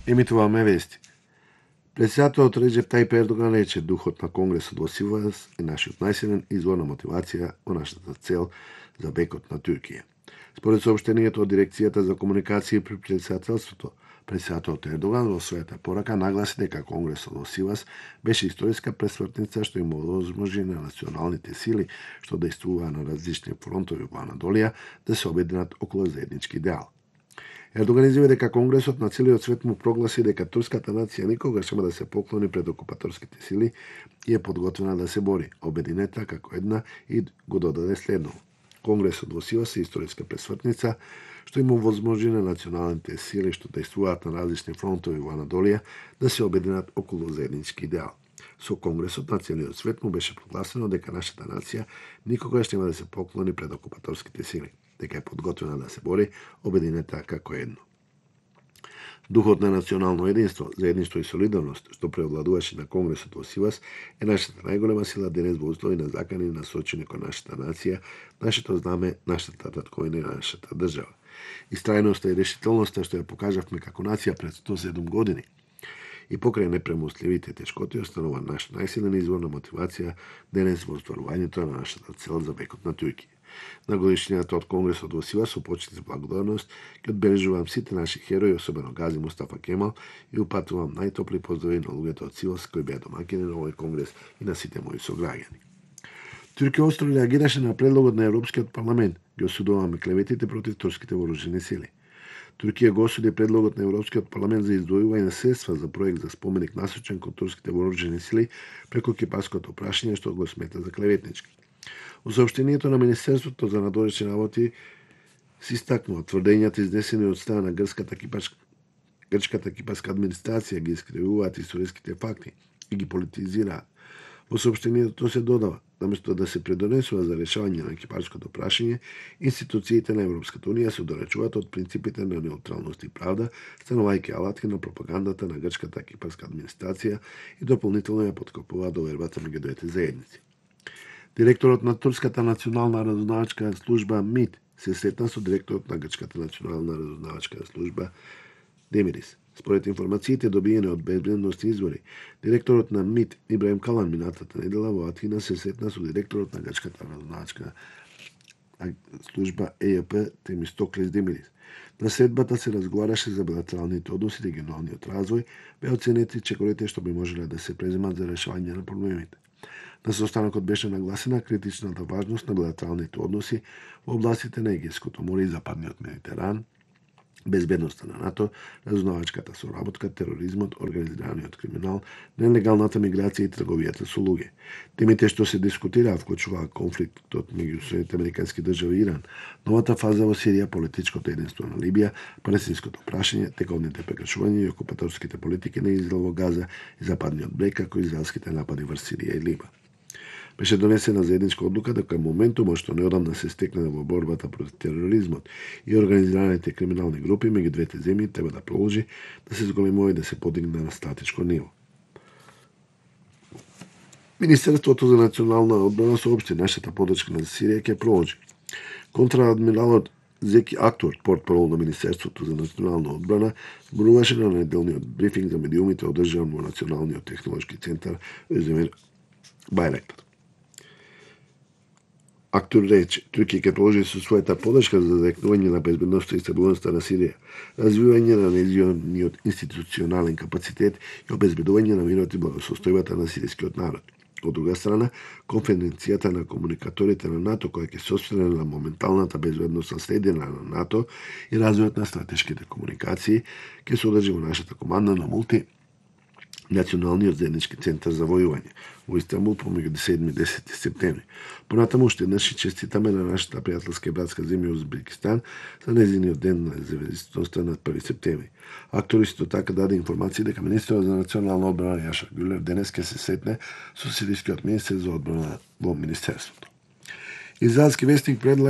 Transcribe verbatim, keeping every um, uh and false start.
Емитуваме вести. Председателот Реџеп Тајип Ердоган рече духот на Конгресот во Сивас е нашиот најсилен извор на мотивација во нашата цел за бекот на Туркија. Според соопштението од Дирекцијата за комуникација при председателството, председателот Ердоган во својата порака нагласи дека Конгресот во Сивас беше историска пресвртница што им овозможи на националните сили што дејствуваа на различни фронтови во Анадолија да се обединат околу заеднички идеал. Ердоган изјави дека Конгресот на целиот свет му прогласи дека турската нација никогаш нема да се поклони пред окупаторските сили и е подготвена да се бори, обединета како една, и го додаде следно. Конгресот во Сивас е историска пресвртница што им овозможи на националните сили што дејствуваат на различни фронтови во Анадолија да се обединат околу заеднички идеал. Со Конгресот на целиот свет му беше прогласено дека нашата нација никогаш нема да се поклони пред окупаторските сили, дека е подготвена да се бори, обединета како едно. Духот на национално единство, заедништво и солидарност што преовладуваше на Конгресот во Сивас е нашата најголема сила денес во услови на закани насочени кон нашата нација, нашето знаме, нашата татковина и нашата држава. Истрајноста и решителноста што ја покажавме како нација пред сто и седум години и покрај непремостливите тешкоти останува наш најсилен извор на мотивација денес во остварувањето на нашата цел за бекот на Туркија. На годишнината од Конгресот во Сивас со почит и благодарност ќе одбележувам сите наши херои, особено Гази Мустафа Кемал, и упатувам најтопли поздрави на луѓето од Сивас кои беа домаќини на овој конгрес и на сите мои сограѓани. Туркија остро реагираше на предлогот на Европскиот парламент, ги осудуваме клеветите против турските вооружени сили. Туркија го осуди предлогот на Европскиот парламент за издвојување средства за проект за споменик насочен кон турските вооружени сили преку кипарското прашање што го смета за клеветнички. Во соопштението на Министерството за надворешни работи се истакнува тврдењата изнесени од страна на грчката кипарска грчката кипарска администрација ги искривуваат историските факти и ги политизираат. Во соопштението се додава, наместо да се придонесува за решавање на кипарското прашање, институциите на Европската унија се оддалечуваат од принципите на неутралност и правда, станувајќи алатки на пропагандата на грчката кипарска администрација и дополнително ја поткопуваат довербата меѓу двете заедници. Директорот на Турската национална разузнавачка служба МИД се сретна со директорот на Грчката национална разузнавачка служба Демирис. Според информациите добиени од безбедностни извори, директорот на МИД Ибраим Калан минатата недела во Атина се сретна со директорот на Грчката разузнавачка служба Е Ј П Темистоклис Демирис. На средбата се разговараше за билатералните односи, регионалниот развој, беа оценети чекорите што би можеле да се преземат за решавање на проблемите. На состанокот беше нагласена критичната важност на билатералните односи во областите на Егејското море и Западниот Медитеран, безбедноста на НАТО, разузнавачката соработка, тероризмот, организираниот криминал, нелегалната миграција и трговијата со луѓе. Темите што се дискутираа вклучуваа конфликтот меѓу Соединетите американски држави и Иран, новата фаза во Сирија, политичкото единство на Либија, палестинското прашање, тековните прекршувања и окупаторските политики на Израел во Газа и Западниот брег, како и израелските напади врз Сирија и Либан. Беше донесена заедничка одлука дека моментумот што неодамна се стекна во борбата против тероризмот и организираните криминални групи меѓу двете земји треба да продолжи да се зголемува и да се подигне на стратешко ниво. Министерството за национална одбрана соопшти нашата подршка на Сирија ќе продолжи. Контраадмиралот Зеки Актор, портпарол на Министерството за национална одбрана, зборуваше на неделниот брифинг за медиумите одржан во Националниот технолошки центар Özdemir Байрактар. Актор рече, Туркија ќе продолжи со својата подршка за зајакнување на безбедноста и стабилноста на Сирија, развивање на нејзиниот институционален капацитет и обезбедување на мирот и благосостојбата на сирискиот народ. Од друга страна, конференцијата на комуникаторите на НАТО, која ќе се осврне на моменталната безбедностна следина на НАТО и развојот на стратешките комуникации, ќе се одржи во нашата команда на мулти Националниот заеднички центар за војување во Истанбул помеѓу седми и десети септември. Понатаму уште еднаш честитаме на нашата пријателска и братска земја Узбекистан за нејзиниот ден на независноста на први септември. Актор исто така даде информација дека министерот за национална одбрана Јашар Гюлев денес ќе се сретне со сирискиот министер за одбрана во министерството. Израелски вестник предлага